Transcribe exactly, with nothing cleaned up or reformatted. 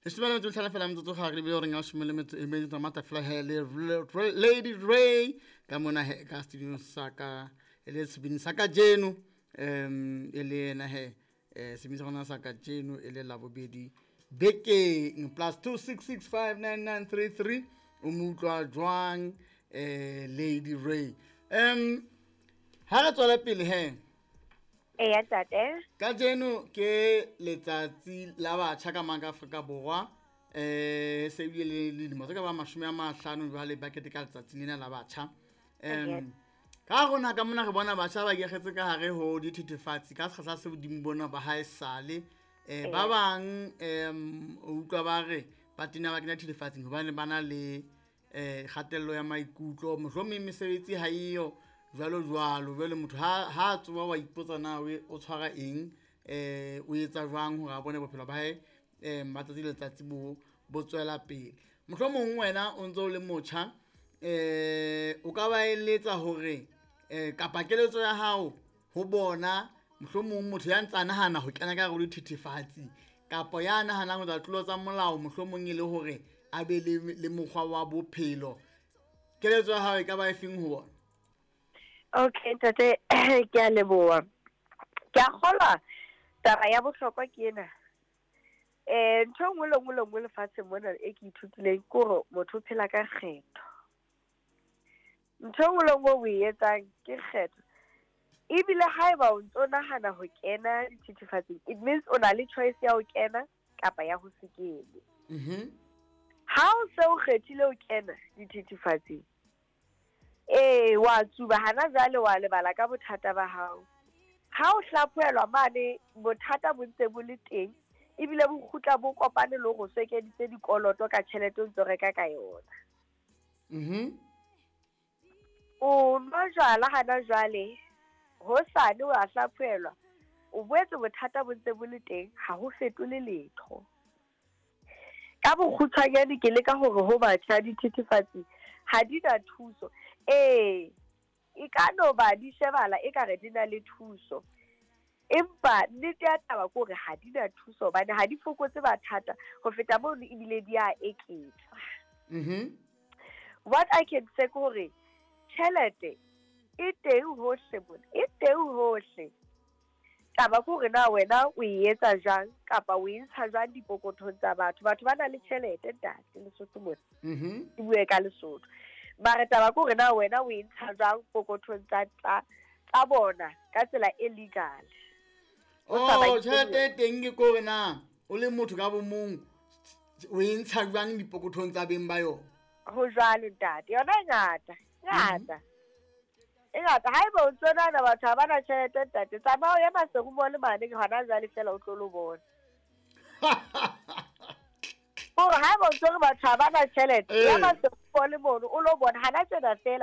Leshome le metso e mehlano fela metsotso ga re lebile goreng ya leshome le metso e medi tsa matafela he le le- Lady Ray ka mona he ka studio sa ka e le sebini sa kajeno, um e le yena he um sebini sa rona sa kajeno e le Labobedi bekeng. Plus two six six five nine nine three three. O mo utlwa jwang um Lady Ray? Um ha re tswela pele he. Eya ntate. Kajeno ke letsatsi la batjha ka mang ka Afrika Borwa. um se bile le dilemo tse ka ba mashome a mahlano jwale ba keteka letsatsi lena la batjha. um ka rona ka mona re bona batjha ba ikakgetse ka hare ho dithethefatsi ka sekgahla se hodimo bona ba hae sale. um ba bang um o utlwa ba re ba tena ba kena thethefatsing hobane ba na le um kgatello ya maikutlo, mohlomong mesebetsi ha eyo jwalo jwalo. Jwale motho ha ha tsoha wa ipotsa na o tshwara eng, um o etsa jwang hore a bone bophelo ba hae um ba tsatsi le letsatsi bo bo tswela pele. Mohlomong wena o ntso o le motjha, um o ka ba eletsa hore um kapa keletso ya hao ho bona, mohlomong motho ya ntsa nahana ho kena ka hare ho dithethefatsi kapa ya nahanang ho etsa tlolo tsa molao, mohlomong e le hore a be le le mokgwa wa bophelo, keletso ya hao e ka ba e feng ho bona? Okay ntate, ke a leboha. Ke a kgolwa taba ya bohlokwa ke ena. Eh ntho e nngwe le nngwe le nngwe lefatsheng mona e ke ithutileng ke hore motho o phela ka kgetho. Ntho e nngwe le nngwe o e etsang ke kgetho. Ebile haeba o ntso nahana ho kena dithethefatsing, it means o na le choice ya ho kena kapa ya ho se kene. Mhm. Ha o se o kgethile ho kena dithethefatsing, ee wa tsuba hana jwale wa lebala ka bothata ba hao. Ha o hlaphohelwa mane bothata bo ntse bo le teng, ebile bo kgutla bo kopane le hore o so ekeditse dikoloto ka tjhelete o ntso reka ka yona. Mhm. O nwa jwala hana jwale, hosane wa hlaphohelwa, o boetse bothata bo ntse bo le teng, ha ho fetole letho. Ka bokgutshwanyane ke leka hore ho batjha dithethefatsi ha di na thuso. Ee, e ka no ba di shebahala ekare di na le thuso, empa nnete ya taba ke hore ha di na thuso hobane ha di fokotse mathata, ho feta mono ebile di a eketsa. Mhm. What I can say ke hore tjhelete e teng hohle mona, e teng hohle. Taba ke hore na wena o e etsa jwang kapa o e ntsha jwang dipokothong tsa batho. Batho ba na le tjhelete ntate Lesotho mona. Mhm. Ke bue ka Lesotho. Mare taba ke hore na wena o e ntsha jwang pokothong tsa tsa tsa bona ka tsela e legal. O sa ba Oh, tjhelete e teng ke kore na o le motho ka bo mong o e ntsha jwang dipokothong tsa beng ba yona? Ho jwalo ntate, yona e ngata, ngata. E ngata. Haeba o ntso nahana batho ha ba na tjhelete ntate, tsamaya o ye Maseru Mall mane hona jwale feela o tlo lo bona. Hore haeba o ntso re batho ha ba na tjhelete, ya Eh. Maseru Mall mono o lo bona hana tjena feela.